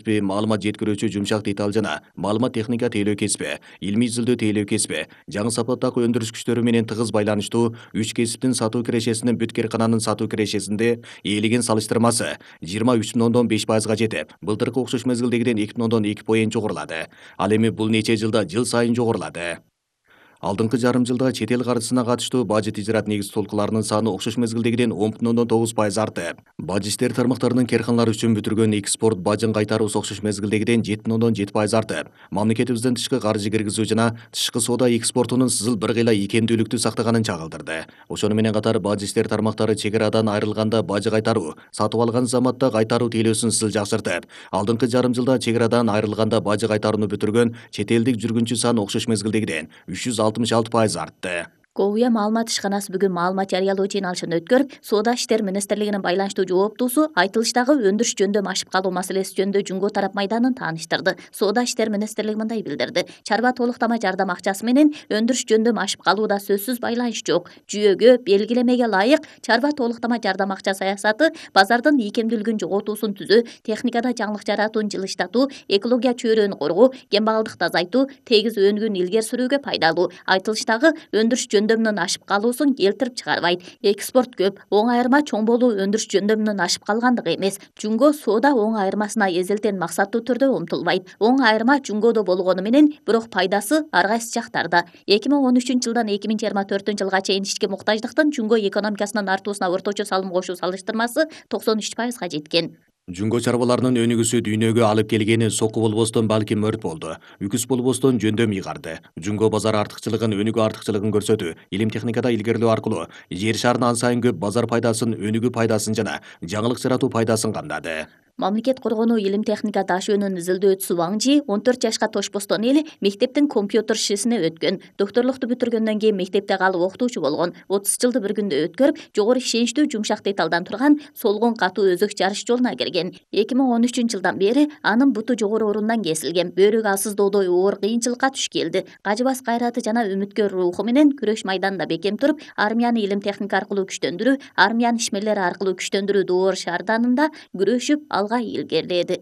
кесиби, маалымат жеткирүүчү жумшак деталь жана маалымат техника тейлөө кесиби, илмий изилдөө тейлөө кесиби, жаңы сапаттагы өндүрүш күчтөрү менен тыгыз байланыштуу 3 кесиптин сатуу кирешесинин бүт кээркананын сатуу кирешесинде ээлеген салыштырмасы 23,5%га жетип, былтыркы окшош мезгилдегиден 2,2 жогорулады. Ал эми бул нече жылда жыл сайын жогорулады. Алдыңкы жарым жылда чет эл каржысына катыштуу бажет ижраат негиз толкуларынын саны окшош мезгилдегиден 10,9% артып, бажы иштери тармактарынын керканлары үчүн бүтүргөн экспорт бажын кайтаруусу окшош мезгилдегиден 7,7% артып, мамлекетибиздин тышкы каржы киргизүү жана тышкы соода экспортунун сызыл бир кыйла ийкемдүүлүктү сактаганын чагылдырды. Ошону менен катар бажы иштери тармактары чек арадан айрылганда бажы кайтаруу, сатып алган заматта кайтаруу тейлөөсүн сызыл жакшыртып, алдыңкы жарым жылда чек арадан айрылганда бажы кайтарууну бүтүргөн чет элдик жүргүнчү саны окшош мезгилдегиден 366% артты. КОУЯ маалымат ишканасы бүгүн маалымат жарыялоо жыйналышын өткөрүп, Соода иштери министрлигинин байланыштуу жооптуусу айтылыштагы өндүрүш жөндөмү ашып калуу маселеси жөнүндө Жумго тарап майданын тааныштырды. Соода иштери министрлиги мындай билдирди: чарба толуктама жардам акчасы менен өндүрүш жөндөмү ашып калууда сөзсүз байланыш жок. Жүйөгө, белгилемеге ылайык чарба толуктама жардам акча саясаты базардын ийкемдүүлүгүн жоготуусун түзөө, техникада жаңылык жаратууну жылыштатуу, экология чөйрөнү коргоо, кембагалдыкты азайтуу, тегиз өнүгүүнү илгери сүрүүгө пайдалуу. Айтылыштагы өндүрүш жөндөмүнүн ашып калуусун келтирип чыгарбайт. Экспорт көп, оң айырма чоң болуу өндүрүш жөндөмүнүн ашып калгандыгы эмес. Жумго соода оң айырмасына эзелтен максаттуу түрдө умтулбайт. Оң айырма Жумгодо болгону менен, бирок пайдасы ар кайсы жактарда. 2013-жылдан 2024 жылга чейин ички муктаждыктын Жумго экономикасынын артуусуна орточо салым кошуу салыштырмасы 93%га жеткен. Жумго чарбаларынын өнүгүүсү дүйнөгө алып келгени соку болбостон балким өрт болду. Үкүс болбостон жөндөм ыйгарды. Жумго базар артыкчылыгын, өнүгүү артыкчылыгын көрсөтүү, илим техникада илгерилөө аркылуу жер шарынын ан сайын көп базар пайдасын, өнүгүү пайдасын жана жаңылык жаратуу пайдасын камдады. Мамлекет коргонуу илим техника даш өнүн изилдөөчүсү Ваң Жи 14 жашка тошпостон эле мектептин компьютер шисине өткөн. Доктурлукту бүтүргөндөн кийин мектепте калып окутуучу болгон. 30 жылды бір күндө өткөрүп, жогору ишеничтүү жумшак деталдан турган солгон катуу өзөк жарыш жолуна кирген. 2013-жылдан бери анын буту жогору орундан кесилген. Бөөрүк алсыздоодой оор кыйынчылыкка туш келди. Кажыбас кайраты жана үмүткөр руху менен күрөш майданында бекем туруп, армияны илим техника аркылуу күчтөндүрүү, армиянын ишмерлери аркылуу күчтөндүрүү доор шаарданында күрөшүп алга илгериледи.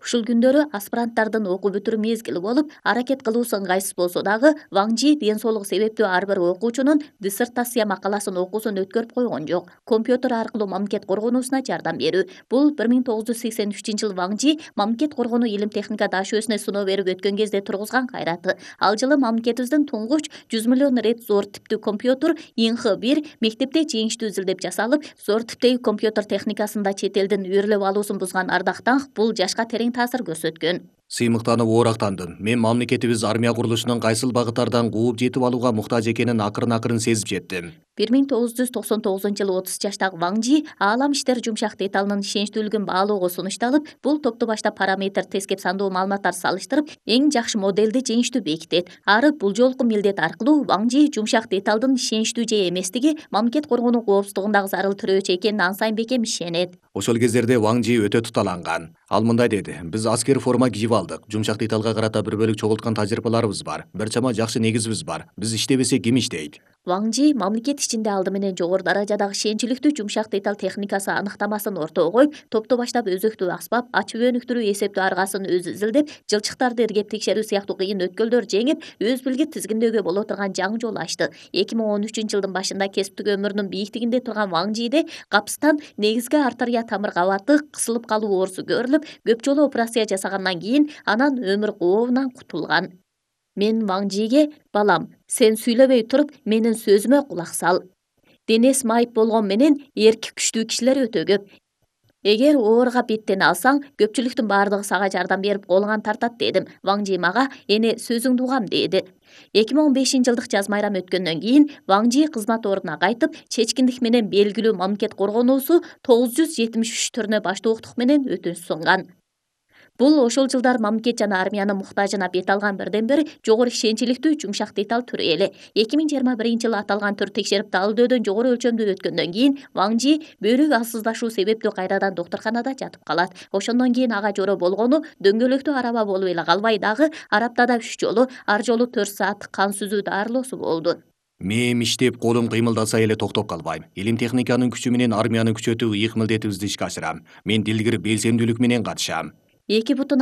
Ушул күндөрү аспиранттардын окуу бүтүрүү мезгили болуп, аракет кылуусу ыңгайсыз болсо дагы, Ваң Жи ден соолугу себептүү ар бир окуучунун диссертация макаласын окуусун өткөрүп койгон жок. Компьютер аркылуу мамлекет коргонуусуна жардам берүү. Бул 1983-жылы Ваң Жи мамлекет коргонуу илим техника даш өсүнө сыноо берип өткөн кезде тургузган кайраты. Ал жылы мамлекетибиздин туңгуч 100 миллион рет зор типтүү компьютер Инх-1 мектепте жеңиштүү изилдеп жасалып, зор типтеги компьютер техникасында чет элдин үйрөлөп алуусун бузган Ардактанг бул жашка терең таасир көрсөткөн. Сыймыктанып оорактандым. Мен мамлекетибиз армия курулушунун кайсыл багыттардан кууп жетип алууга муктаж экенин акырын сезип жеттим. 1999-жылы 30 жаштагы Ваң Жи аалам иштери жумшак деталынын ишеничтүүлүгүн баалоого сунушталып, бул топту башта параметр тескеп сандуу маалыматтар салыштырып, эң жакшы моделди жеңиштүү бекитет. Ары бул жолку милдет аркылуу Ваң Жи жумшак деталдын ишеничтүү же эместиги мамлекет коргонуу коопсуздугундагы зарыл тирөөчү экенин ан сайын бекем ишенет. Ошол кездерде Ваң Жи өтө туталанган. Ал мындай деди: биз аскер форма кийип алдык. Жумшак деталга карата бир бөлүк чогулткан тажрыйбаларыбыз бар. Бир чама жакшы негизибиз бар. Биз иштебесек ким иштейт? Ваң Жи мамлекет ичинде алды менен жогору даражадагы ишеничиликтүү жумшак деталь техникасы аныктамасын ортого коюп, топту баштап өзөктүү аспап, ачып өнүктүрүү эсептөө аргасын өзү изилдеп, жылчыктарды иргеп текшерүү сыяктуу кыйын өткөлдөр жеңип, өз билгит тизгиндөөгө боло турган жаңы жол ачты. 2013-жылдын башында кесиптик өмүрүнүн бийиктигинде турган Ваң Жиде капыстан негизги артерия тамыр кабаты кысылып калуу оорусу көрүлүп, көп жолу операция жасагандан кийин анан өмүр кообунан кутулган. Мен Ваң Жиге: балам, сен сүйлөбөй туруп, менин сөзүмө кулак сал. Денеси майып болгон менен эрки күчтүү кишилер өтө көп. Эгер ооруга беттене алсаң, көпчүлүктүн баардыгы сага жардам берип колуңан тартат дедим. Ваң Жи мага: эне сөзүңдү угам деди. 2015-жылдык жаз майрам өткөндөн кийин Ваң Жи кызмат ордуна кайтып, чечкиндик менен белгилүү мамлекет коргонуусу 973 түрүнө баштоолуктук менен өтүнүч сунган. Бул ошол жылдар мамлекет жана армиянын муктажына бет алган бирден бир жогору ишеничиликтүү жумшак деталь түрү эле. 2021-жылы аталган түр текшерип далилдөөдөн жогору өлчөмдүү өткөндөн кийин Ваң Жи бөөрүк алсыздашуу себептүү кайрадан доктурканада жатып калат. Ошондон кийин ага жоро болгону дөңгөлөктүү араба болуп эле калбай дагы араптада 3 жолу, ар жолу 4 сааттык кан сүзүү дарылоосу болду. Мээм иштеп, колум кыймылдаса эле токтоп калбайм. Илим техниканын күчү менен армияны күчөтүү ыйык милдетибизди ишке ашырам. Мен дилгир белсемдүүлүк менен катышам. Эки бутун